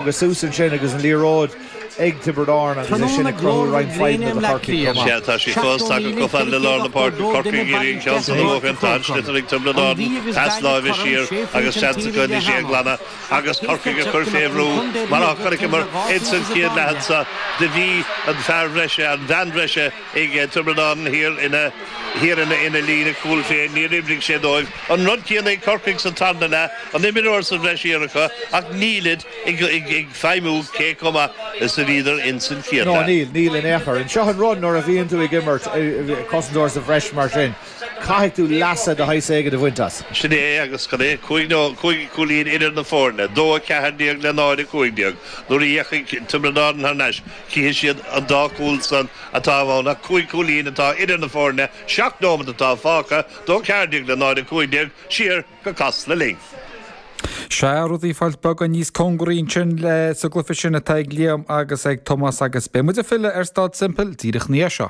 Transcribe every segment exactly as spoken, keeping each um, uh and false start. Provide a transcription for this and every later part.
Agus suas ansin agus an liathróid ag Tiobraid Árann agus é sin ag cruthú roinnt fadhbanna do Chorcaigh chomh maith. Sea, tá sí fós tagtha chomh fada le lár na páirce, Corcaigh ag iarraidh an ceann san a bhuachan, tá an sliotar ag Tiobraid Árann, pas láimhe siar agus seans acu anois é a ghlanadh agus Corcaigh a chur fé bhrú mar a chonaiceamar ins an chéad leath anso. Do bhí an fear bhreise, an bhean bhreise ag Tiobraid Árann thiar ina thiar ina ina líne cúil féin, níor oibrigh sé dóibh. An rud céanna ag Corcaigh sa tarna leath, an imreoir sa bhreis thiar acu ach nílid ag ag ag feidhmiú cé chomh maith is a bhíodar ins an chéad No, leath. níl, níl in aon chor. Seo an rud nuair a bhíonn tú ag imirt cosantóir sa bhreis mar sin, caithfidh tú leas de shaghas éigin a bhaint as. Sin é agus cad é cúig nó cúig cúilín idir na foirne, dó a ceathair déag le náid a cúig déag. Nuair a dheachaigh Tiobraid Árann thar n-ais, chífidh siad an dá chúl san atá ann ach cúig cúilín atá idir na foirne, seacht nóiméad atá fágtha, dó ceathair déag le náid a cúig déag, siar go Casla linn. Sea rudaí ag fáilt beagán níos cóngaraí ansin le sa gcluiche sin atá ag Liam agus ag Tomás agus beidh muid ag filleadh ar Staid Semple díreach ina dhiaidh seo.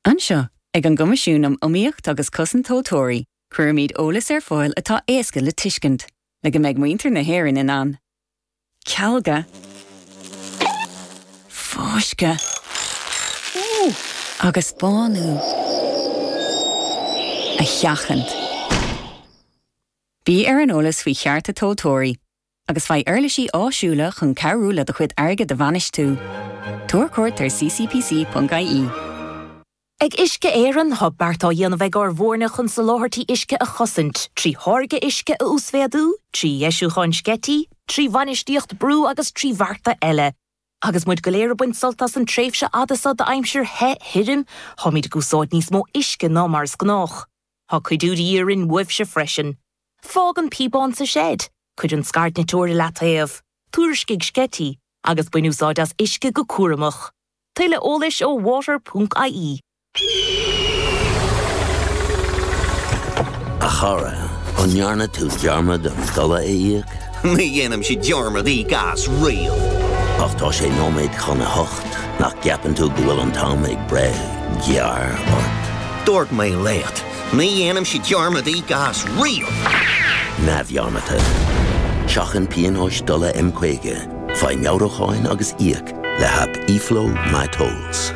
Anseo ag an gCoimisiún um Iomaíocht agus Cosaint Tomhaltóirí, cuirimid eolas ar fáil atá éasca le tuiscint, le go mbeidh muintir na hÉireann in ann. Cealga fáisceadh agus bánú a sheachaint. Bí ar an eolas faoi chearta tomhaltóirí, agus faigh uirlisí áisiúla chun cabhrú le do chuid airgid a bhainistiú. Tabhair cuairt ar ccpc.ie. Ag Uisce Éireann tá beart á dhéanamh ag ár bhfoirne chun soláthairtí uisce a chosaint, trí tháirgeadh uisce a uasmhéadú, trí dheisiúcháin sceití, trí bhainistíocht brú agus trí bhearta eile. Agus muid go léir ag baint sult as an tréimhse fhada seo d'aimsir the thirim, táimid ag úsáid níos mó uisce ná mar is gnách. Tá cuidiú de dhíth orainn uaibhse freisin. Fág an píobán sa seid, cuir an scairdniteoir i leataobh, tuairiscigh sceití, agus bain úsáid as uisce go cúramach. Tuilleadh eolais ó water.ie. A chara, an ndearna tú dearmad an dola a íoc? Ní dhéanaimse dearmad íoc as riamh. Ach tá sé nóiméad chun a hocht, nach gceapann tú go bhfuil an t-am ag breith gearr ort? Dúirt mé leat, ní dhéanaimse dearmad íoc as riamh. Neamhdhearmadta. Seachain pionóis dola M caoga, faigh meabhrúcháin agus íoc le haip eFlow MyTolls.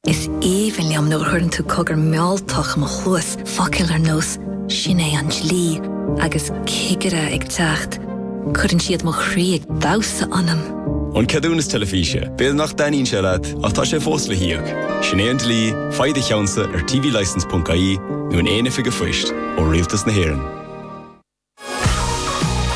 Is aoibhinn liom nuair a chuireann tú cogar mealltach i mo chluas, focail ar nós 'Sin é an dlí' agus 'Cigire ag teacht'. Cuireann siad mo chroí ag damhsa ionam. An ceadúnas teilifíse, b'fhéidir nach dtaitníonn sé leat ach tá sé fós le híoc. Sin é an dlí, faigh do cheannsa ar tvlicence.ie nó in aon oifig an phoist ó Rialtas na hÉireann.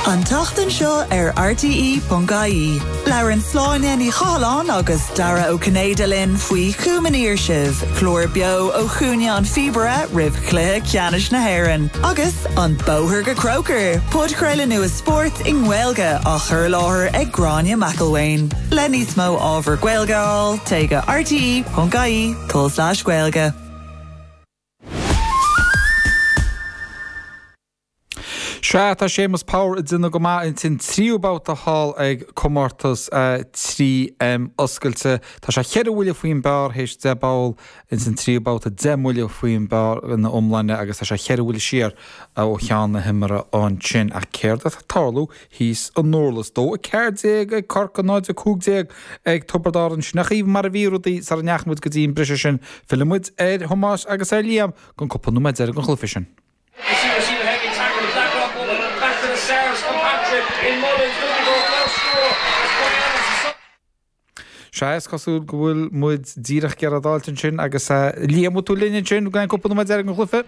An tseachtain seo ar RTE.ie. Labhrann Sláine Ní Chathalláin agus Dara Ó Cinnéide linn faoi Chúm an Fhíorsibh, clár beo ó Chúinne an Phíobaire roimh chluiche ceannais na hÉireann. Agus an Bóthar go Croker, podchraoladh nua spóirt i nGaeilge á chur i láthair ag Gráinne McElwain. Le níos mó ábhar Gaeilge a fháil, téigh go rte.ie tulslais Gaeilge. Sea tá Séamus Power ag déanamh go maith insan tríú babhta thall ag comórtas trí M oscailte. Tá sé cheithre bhuille faoin bpar théis deich bpoll insan tríú babhta deich mbuille faoin bpar ina iomláine agus tá sé cheithre bhuille siar ó cheann na himeartha ansin. Ach céard atá ag tarlú thíos i nDurlas dó a ceathair déag ag Corcaigh náid a cúig déag ag Tiobraid Árann sin a chaoi mar a bhí rudaí sara ndeachaigh muid go dtí an briseadh sin. Filleann muid ar Thomás agus ar Liam don cúpla nóiméad deiridh den chluiche sin. Sea, is cosúil go bhfuil muid díreach ag iarraidh d'fháilt ansin agus Liam, bhfuil tú linn ansin go cúpla nóiméad deiridh den chluiche?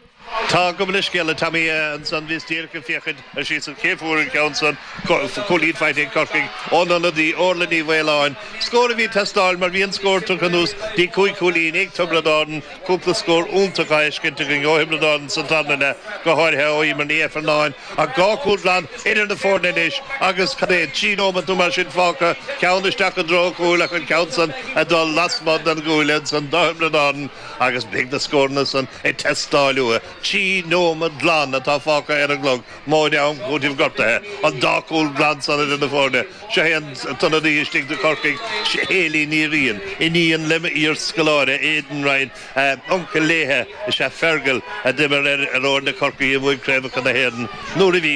Tá gabh mo leithscéal, a Tommy, ansan bhíos díreach ag féachaint ar síos an cé fuair an ceann san, cúilín faighte ag Corcaigh ón ionadaí Orla Ní Mhaoláin. Scór a bhí ag teastáil mar bhí an scór tugtha anuas dtí cúig chúilín ag Tiobraid Árann, cúpla scór iontach á fheiscint againn ó Thiobraid Árann sa tarna leath, go háirithe ó Emer Ní Ifearnáin. Ach dhá chúl glan idir na foirne anois agus cad é, trí nóiméad nó mar sin fágtha, ceann isteach i dtreo an chúil ach an ceann san ag dul lasmuigh den gcuaille ansan do Thiobraid Árann agus beidh na scóranna san ag teastáil uathu. Trí Trí nóiméad glan atá fágtha ar an gclog móide am cúiteamh gortaithe an dá chúl glan san idir na foirne. Seo é an t-ionadaí istigh do Chorcaigh, Hayley Ní Riain, iníon le m'iarscoláire Aidan Ryan, uncail léithe is ea Fergal a d'imir ar fhoirne Chorcaí a bhuaigh craobhacha na hÉireann nuair a bhí